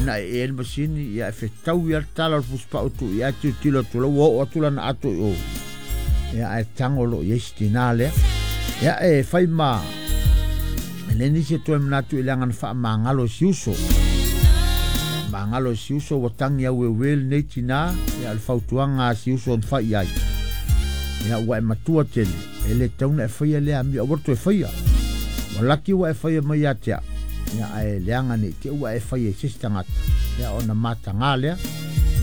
na e e le masini, ia e fetaui lava le tala o le fusipau e tuu i ai, ae tilotilo atu loa ua oo atu lana ato i o. Ia ae tago loa i ai si tinā lea. Ia e fai ma e leai nisi e toe manatu i leaga na faamagalo e si uso. Faamagalo e si uso ua tagi aueuē lenei tinā, ia o le fautuaga a si uso na fai i ai. Ia ua e matua tele, e le tatau ona e faia lea amio, aua le toe faia. Ua laki ua e faia mai ia te au, ia ae leaga ne i te i ua e faia i se isi tagata, ia ona mataga lea.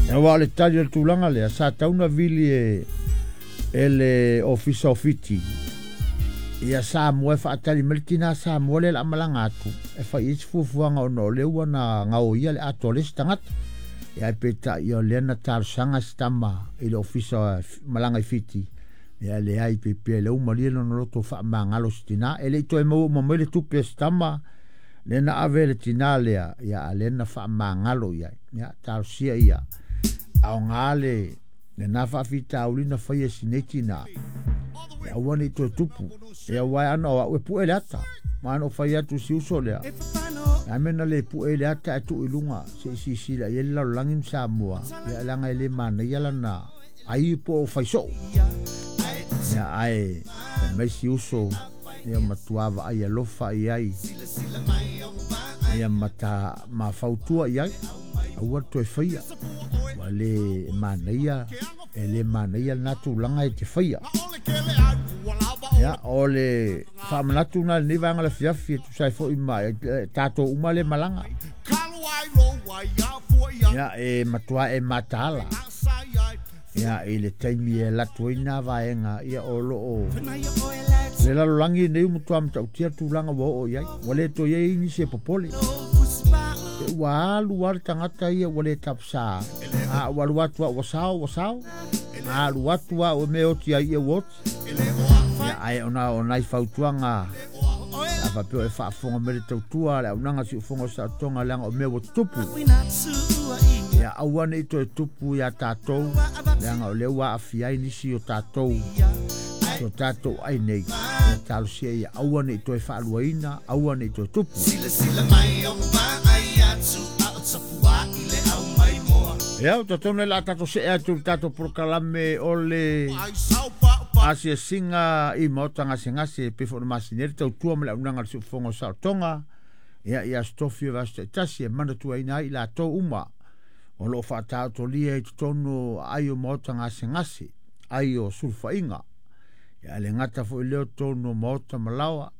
Ia aua o le tali o le tulaga lea, sa tatau ona vili e e le Ofisa o Fiti ia Samoa e faatali mai le tinā Samoa lea o le a malaga atu e fai i ai se fuafuaga ona o lea ua na gaoia le ato a le isi tagata. Ia ae peitai o lea na talosaga si tama i le ofisa malaga i Fiti, ia leai pe pea lea ua malie lona loto faamagalo si tinā. E le i toe maua uma mai le tupe a si tama lea na ave e le tinā lea, ia a lea na faamagalo i ai. Ia talosia ia aoga le lena faafitauli na faia e si nei tinā, e aua ne i toe tupu. E aua e ana o au e pue le ata. Ma ana o fai atu si uso lea. A mea na le pue i le ata e tuu i luga se i silasila i ai le lalolagi ma Samoa, ia leaga e le manaia lana ai po o fai soo. Ia ae fai mai si uso, ia matua vaai alofa i ai, ia ma ta ma fautua i ai, aua le toe faia. Ua le manaia, e le manaia lena tulaga e te faia. Ia, o le faamanatu lena i lenei vaega o le afiafi e tusa ai foi ma tatou uma lea e malaga. Ia, e matua e mataala. Ia, i le taimi e alu atu ai nā vaega, ia o lo o le lalolagi nei ua matua matautia le tulaga ua oo i ai. Ua le toe i ai nisi e popole. E ua alu lava le tagata ia ua le tapasā. A ua alu atu lava ua sao, ua sao. A alu atu lava ua mea e oti ai ia ua oti. Ia, ae ona o nai fautuaga a faapea o e faafofoga mai le tautua a le auaunaga siufofoga o saotoga leaga o mea ua tutupu. Ia aua ne i toe tupu iā tatou, leaga o lea ua aafia ai nisi o tatou i o tatou ai nei. Ia talosia ia aua ne i toe faaluaina, aua ne i toe tupu. Ia, ou te talitonu o le a tatou see atu i le tatou polokalame o le asiasiga i maota gasegase e pei foi ona masani ai le tautua ma le auaunaga a le siufofoga o saolotoga. Ia, i Aso Tofi o vaiaso taitasi e manatuaina ai i latou uma o lo o faataotolia i totonu o aai o maota gasegase, ai o sulufaiga. Ia, e le gata foi i lea o totonu o maota ma laoa,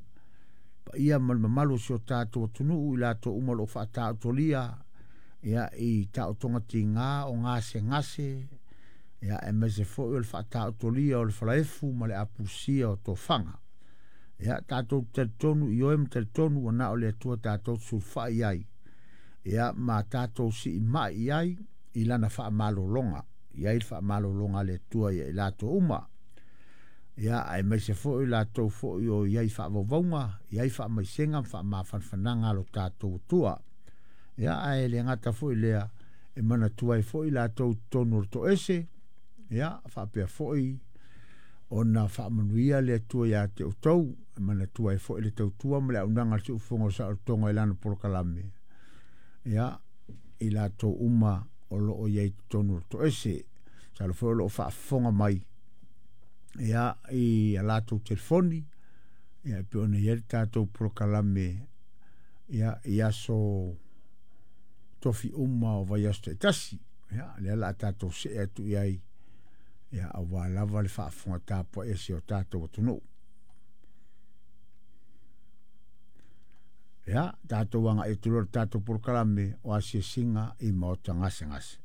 paia ma le mamalu o si o tatou atunuu i latou uma o lo o faataotolia ia, i taotoga tiga o gasegase, ia, aemaise foi o le faataotolia o le falaefu ma le apulusia o tofaga. Ia, tatou te talitonu i oe ma talitonu ua na o le Atua tatou te sulufai i ai, ia, ma tatou siimai i ai i lana faamalologa, i ai le faamalologa a le Atua ia i latou uma. Ia, aemaise foi latou foi o i ai faavauvauga, i ai faamaisega ma faamafanafanaga a lo tatou Atua. Ia, ae le gata foi lea, e manatua ai foi latou i totonu o le toese, ia, faapea foi ona faamanuia le Atua ia te outou, e manatua ai foi le tautua ma le auaunaga a le Siufofoga o Saolotoga i lana polokalame, ia, i latou uma o lo o i ai i totonu o le toese. Masalo foi o lo o faafofoga mai ia, i a latou telefoni, ia, e pei ona i ai le tatou polokalame ia, i aso tofi uma o vaiaso taitasi. Ia, lea o le a tatou see atu i ai ia, aua lava le faafofoga tapuai a si o tatou atunuu. Ia, tatou agai atu loa i le tatou polokalame o asiasiga i maota gasegase.